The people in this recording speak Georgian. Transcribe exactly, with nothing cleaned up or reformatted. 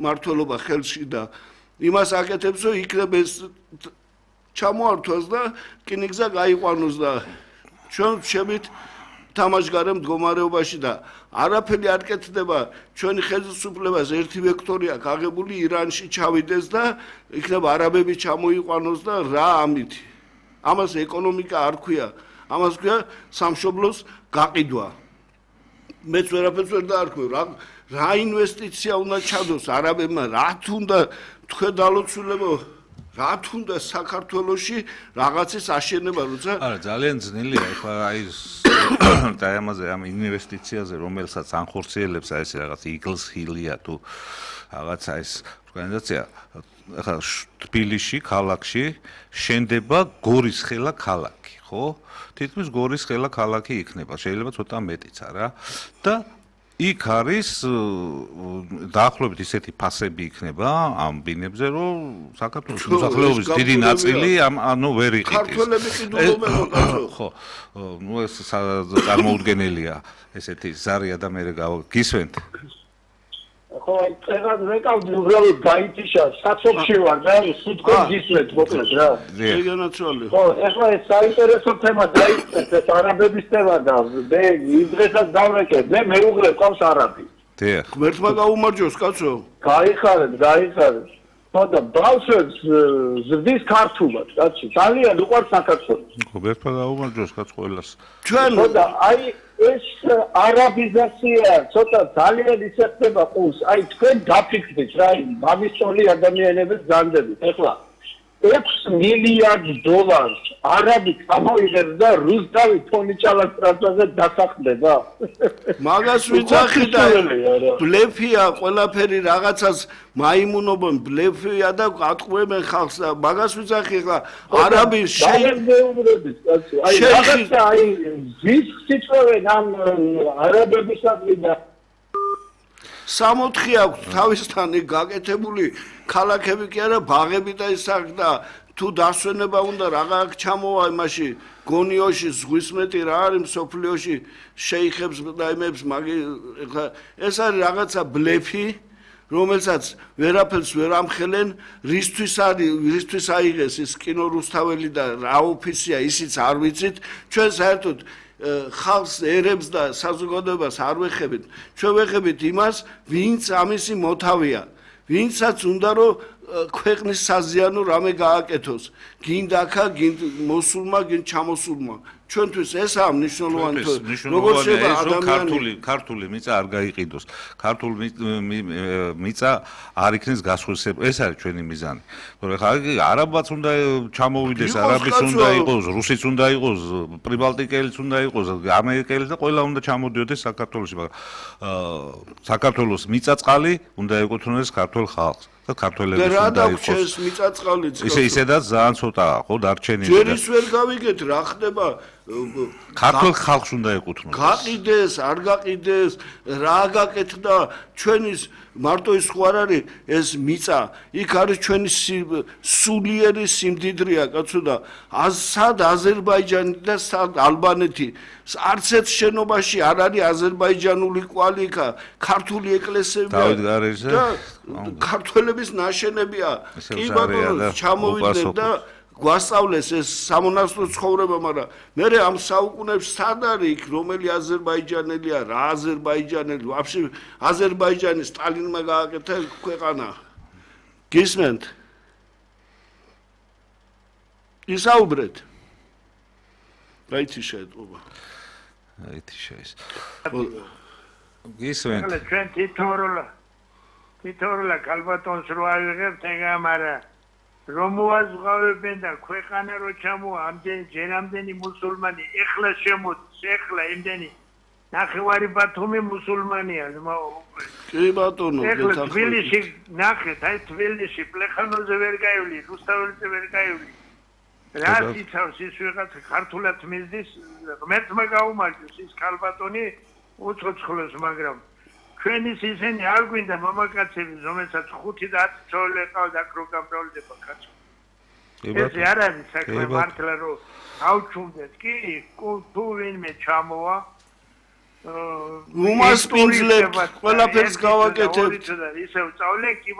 მართლობა ხელში და იმას აკეთებს, რომ იქნება ეს ჩამოართვას და რკინიგზა გაიყვანოს და ჩვენ შევით თამაშგარე მდგომარეობაში და არაფერი არ კეთდება ჩვენი ხელისუფლებას ერთი ვექტორი აქვს აღებული ირანში ჩავიდეს და იქნება არაბები ჩამოიყვანოს და რა ამით ამას ეკონომიკა არ ქვია ამას ქვია სამშობლოს გაყიდვა მეც ვერაფერს ვერ დაარქვევ რა რა ინვესტიცია უნდა ჩადოს არაბებმა რა თუნდა თქვენ დალოცულებო რა თუნდა საქართველოში რაღაცის აშენება როცა არა ძალიან ძნელია ეხლა აი და ამაზე ამ ინვესტიციაზე რომელსაც ანხორციელებს აი ეს რაღაც Eagles Hill-ია თუ რაღაცა ეს ორგანიზაცია ეხლა თბილისში ქალაქში შენდება გორის ხელა ქალაქი ხო თითქმის გორის ხელა ქალაქი იქნება შეიძლება ცოტა მეტიც არა და იქ არის დაახლოებით ისეთი ფასები იქნება ამ ბინებზე რომ საქართველოს მოსახლეობის დიდი ნაწილი ამ ანუ ვერ იყიდეს ქართველები ყიდულობენ ხო ნუ ეს წარმოუდგენელია ესეთი ზარია და მე გისვენთ ხო წეგან ვეკავდი უბრალოდ გაითიშა საცობში ვარ და სიტყვით გისვენთ მოკლედ რა ეგენაცვალი ხო ეხლა ეს საინტერესო თემა დაიწყეთ ეს არაბების თემა და მე იმდრესაც დავრეკე მე მეუღლე ყავს არაბი დიახ ღმერთმა გაუმარჯოს კაცო გაიხარეთ გაიხარეთ ხო და ბავშვებს ზრდის ქართულად კაცი ძალიან უყვარს საქართველოს ღმერთმა გაუმარჯოს კაც ყველას ჩვენ ხო და აი ეს არაბიზაცია ცოტა ძალიან ისეთება ყურს აი თქვენ დაფიქრდით რა მამისწოლი ადამიანების განდებით ეხლა ექვს მილიარდ დოლარს არაბი გამოიღებს და რუსთავი თონიჭალას ტრანსფერზე დასახდება მაგას ვიცახი და ბლეფია ყველაფერი რაღაცას მაიმუნობენ ბლეფია და ატყუებენ ხალხს და მაგას ვიცახი ხა არაბი შეიძლებრების კაცო აი რაღაცა აი ზის სიტყვენ ამ არაბებისადმი და სამოთხი აქვს თავისთან გაკეთებული ქალაქები კი არა ბაღები და ისაკ და თუ დასვენება უნდა რაღა აქ ჩამოვა იმაში გონიოში ზღვის მეტი რა არის მსოფლიოში შეიხებს და იმებს მაგი ეხლა ეს არის რაღაცა ბლეფი რომელსაც ვერაფერს ვერ ამხელენ რისთვის არის რისთვის აიღეს ის კინო რუსთაველი და რა ოფისია ისიც არ ვიცით ჩვენ საერთოდ ხალხს ერებს და საზოგადოებას არ ვეხებით ჩვენ ვეხებით იმას ვინც ამისი მოთავია ვინცაც უნდა რომ ქვეყნის საზიანო რამე გააკეთოს გინდა ხა გინდა მოსულმა გინდა ჩამოსულმა ჩვენთვის ესაა მნიშვნელოვანი როგორ შეიძლება ადამიანი ქართული მიწა არ გაიყიდოს ქართული მიწა არ იქნეს გასხვისებული ეს არის ჩვენი მიზანი თორე ხა არაბაც უნდა ჩამოვიდეს არაბიც უნდა იყოს რუსიც უნდა იყოს პრიბალტიკელიც უნდა იყოს ამერიკელიც და ყველა უნდა ჩამოდიოდეს საქართველოში მაგრამ საქართველოს მიწაწყალი უნდა ეკუთვნოდეს ქართულ ხალხს და ქართველების უნდა იყოს მიწაწყალიც ისე ისედაც ძალიან ცოტაა ხო დარჩენილი ჯერ ის ვერ გავიგეთ რა ხდება ქართულ ხალხს უნდა ეკუთვნოს გაყიდეს არ გაყიდეს რა გაკეთდა ჩვენის მარტო ის ხო არ არის ეს მიწა იქ არის ჩვენი სულიერი სიმდიდრეა კაცო და სად აზერბაიჯანი და სად ალბანეთი არც ერთ შენობაში არ არის აზერბაიჯანული კვალი იქა ქართული ეკლესიებია და ქართველების ნაშენებია კი ბატონო ჩამოვიდნენ და გვასწავლეს ეს სამონასტრო ცხოვრება, მაგრამ მე ამ საუკუნეებში სად არის იქ რომელი აზერბაიჯანელია, რა აზერბაიჯანელი, ვაფშე აზერბაიჯანი სტალინმა გააკეთა ქვეყანა. გისმენთ? ისაუბრეთ. რაიცი შეეტყობა. რაიცი შეის. გისმენთ? ახლა ჩვენ თითოეულა თითოეულა კალბატონს რო ავიღებთ ეგ ამარა რომ მოაზღვავებენ და ქვეყანა რო ჩამოა ამდენი ჯერამდენი მუსულმანი ეხლა შემოდის ეხლა იმდენი ნახევარი ბათუმი მუსულმანია კი ბატონო ეხლა თბილისში ნახეთ აი თბილისში პლეხანოზე ვერ გაივლი რუსთაველზე ვერ გაივლი რა იცავს ის ვიღაც ქართულად მიზდის ღმერთმა გაუმარჯოს ის კალბატონი უცოცხლოს მაგრამ ჩვენის ისინი არ გვინდა მამაკაცები რომელსაც ხუთი და ათი ცოლი ყავდა აქ რო გამრავლდება კაცო ეს არ არის საქმე მართლა რომ ავჩუნდეთ კი თუ ვინმე ჩამოვა უმასპინძლებთ, ყველაფერს გავაკეთებთ. ისევ წავლენ კი